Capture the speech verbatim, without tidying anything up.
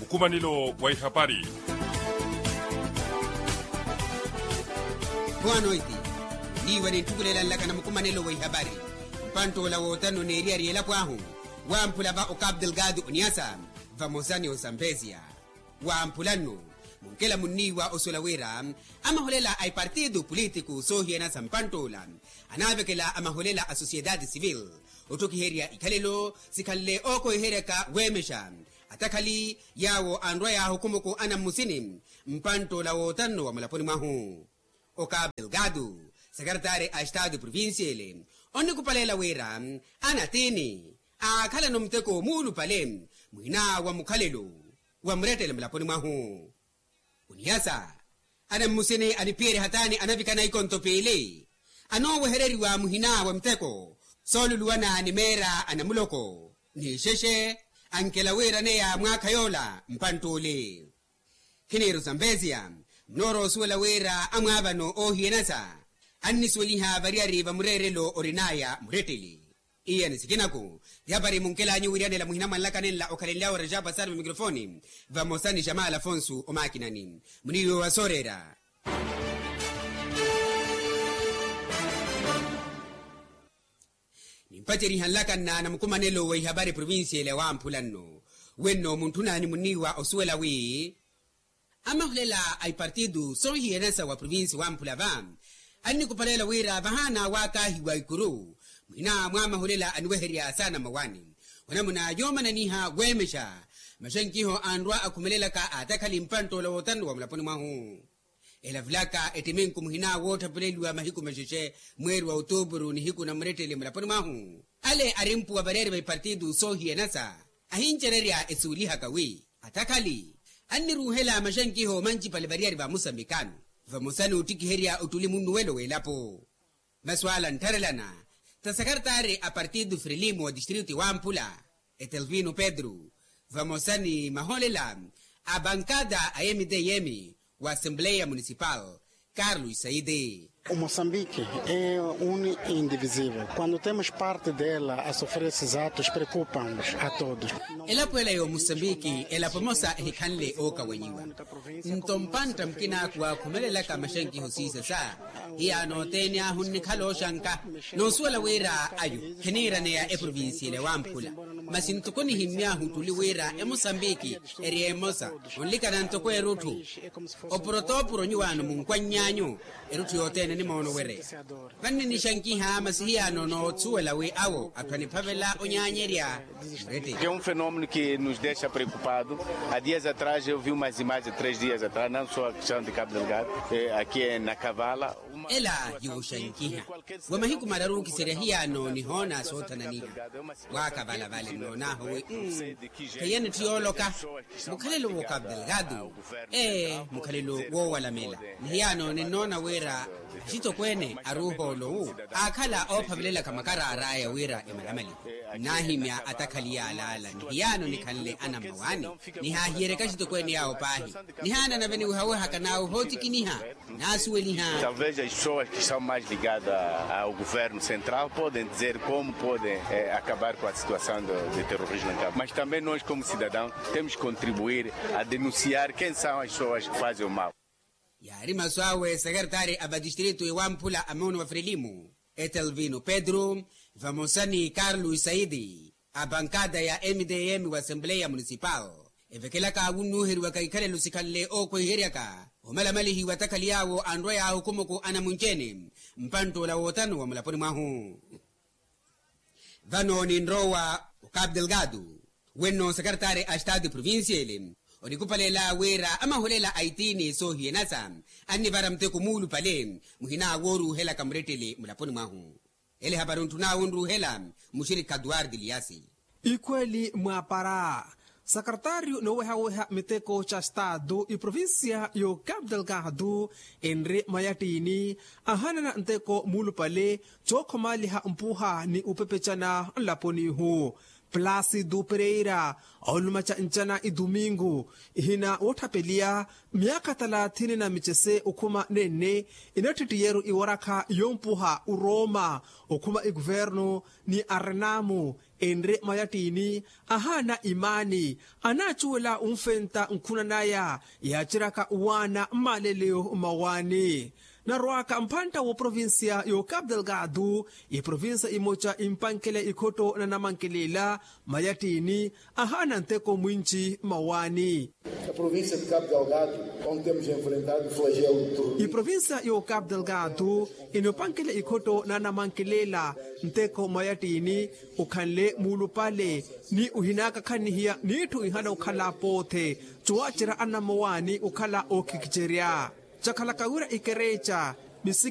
Mukumanelo wa ihapari. Boa noite. Niiwa ninttukulela nlaka na mukumanelo wa ihapari. Mpanttoola wootanno neeriyari elapo ahu wamphula va okapu delgado oniasa vamosa ni osampesia. Wamphula nnu munkela munniiwa osuwela wira amaholela a ipartido politiku soohiyana sa mpanttoola anaavekela amaholela a sociedade civil otthokiherya ikhalelo sikhanle ookoiheryaka weemexa atakhali yaawo anrwa yaahukumuku anammusini. Mpanttoola wootanno wa mulaponi mwahu okapu delgado sekeretaari a estado provincial onnikupaleela wira anatiini aakhalano muteko muulupale muhina wa mukhalelo wa murettele mulaponi mwahu. Oniyasa anammusini aniphiyerya hataani anavikana ikonto piili anoowehereriwa muhina wa muteko sooluluwana ni meera a namuloko ni ixexe ankela wiiraneya mwaakha yoola mpanttuuli. Khiniiru sampesia munoorowa osuwela wira amwaavano oohiyanasa annisuweliha variyari va mureerelo orinaya muretteli. Iye ni sikinaku yapari munkelanyu wiriyanela muhina mwanlaka nenla okhalenlyawe rajapa sari va mikrofoni vamosa ni xamala afonsu omakinani muniiwe wa sooreera. Nimpaceriha nlaka nna na mukumanelo wa ihapari provincial ya wamphula nno wenno muntthu naani munniiwa osuwela wi amahulela a ipartidu soohiyanasa wa provinsi wamphula va annikupaleela wira vahaana waakaahiwa ikuru muhina mwa amahulela aniweherya saana mmawaani onamuna yoomananiha weemexa maxankiho anrwa akhumelelaka atakhali mpanttoola wootanu wa mulaponi mwahu. Elavulaka ettiminku muhina woottapuleliwa mahiku maxexe mweeri wa otuupuru nihiku na murettele mulaponi mwahu ale ari mpuwa vareeri va ipartidu soohiyanasa ahincererya esuwelihaka wi atakhali anniruuhela maxankiho mancipale variyari va musambikano vamosa ni ottikiherya ottuli munnuwelo w'elapo. Masuwala anttharelana ta sekeretaari a partido frelimo wa distrito ya wamphula etelvino pedro vamosa ni maholela a bankada a mtm wa assembleya municipal carlos saidi. O moçambique é um indivisivel quando temos parte dela a sofrer esses atos preocupa-nos a todos. Elapo ela ya omoçambique elapo emosa ehikhanle ookawanyiwa. Nto mpantta mukina aakuwa akhumelelaka maxankiho siisasa hiyaano othene ahu nnikhala oxanka noosuwela wira ayo khiniiraneya eprovincial ya wamphula. Masi ntoko nihimmy'ahu ottuli wira emosambiki eri emosa onlikana ntoko erutthu. Opurotoopuro nyuwaano munkwannyaanyu erutthu yothene nimoono wereya. Vanni nixankiha masi hiyaano noosuwela wi awo atthu aniphavela onyaanyerya. Murete. Que é um fenômeno que nos deixa preocupado. Há dias atrás eu vi umas imagens, três dias atrás, não só a questão de Cabo Delgado, eh, aqui em Nakavala. Ela yuuxankiha wa mahiku mararu okiserya hiyaano nihoona soothananiha. Waakavala vale nnoon'ahu wi kheiya nitthu yooloka. Mukhalelo wo cabo delgado ee mukhalelo woowalamela. Ni hiyaano ninnoona wira axitokweene aruuhoolowu aakhala oophavelelaka makaraar'aya wira emalamaliwe. Nnaahimya atakhali yaalaala ni hiyaano nikhanle anammawaani. Nihaahiyereke axitokweene yaawo paahi. Nihaana nave niwehawehaka n'awo ohootikiniha. Naasuweliha. Talvez as pessoas que estão mais ligadas ao governo central podem dizer como podem acabar com a situação de terrorismo em cabo mas também nós como cidadãos temos que contribuir a denunciar quem são as pessoas que fazem o mal. Yaari masu awe sekeretaari a vatistritu ewamphula a mono wa frelimo etelvino pedro vamosa ni carlos saidi a bankada ya mdm wa assembleya municipal evekelaka wunnuuheriwaka ikhalelo sikhanle ookwehiheryaka omalamalihiwa atakhali yaawo anrwa yaahukumuku anamunci-ene mpantt'ola wootanu wa mulaponi mwahu. Vano ninrowa okapu delgado wenno sekeretaari a estado provincial onikupaleela wira amahulela a itiini soohiyanasa annivara muteko muulupale muhina wooruuhelaka murettele mulaponi mwahu. Ele hapari ontthun'awe onruuhela muxirikha duwardi liyasi. Ikhweeli mwaapara sakartaariyu noowehaweha miteko ca staatu iprovincia y'okapu delgado enri mayattiini ahanana nteko muulupale cookhomaaliha mpuha ni upepecana nlaponi-hu. Plasi du pereira, olumaca ncana idumingu ihina wotthapeliya myaakha talathini na micese okhuma nenne, inattittiyeru iwarakha yompuha uroma okhuma ikuvernu ni arenamu enre mayattini, ahaana imaani anaacuwela unfenta nkhuna naya yaaciryaka uwaana mmaleleyo mmawaani. Narwaka mphantta w'oprovincia y'ocapu delgado, iprovincia imoca impankele ikhotto na namankelela mayattini ahaana nteko mwinci mmawaani. Iprovincia y'ocapu delgado inopankele ikhotto na namankelela nteko mayattini, okhanle muulupale ni ohinakakhannihiya n'itthu ihana okhala poothe, cuwacerya anammawaani okhala ookhikicerya cakhalaka wira ikereca.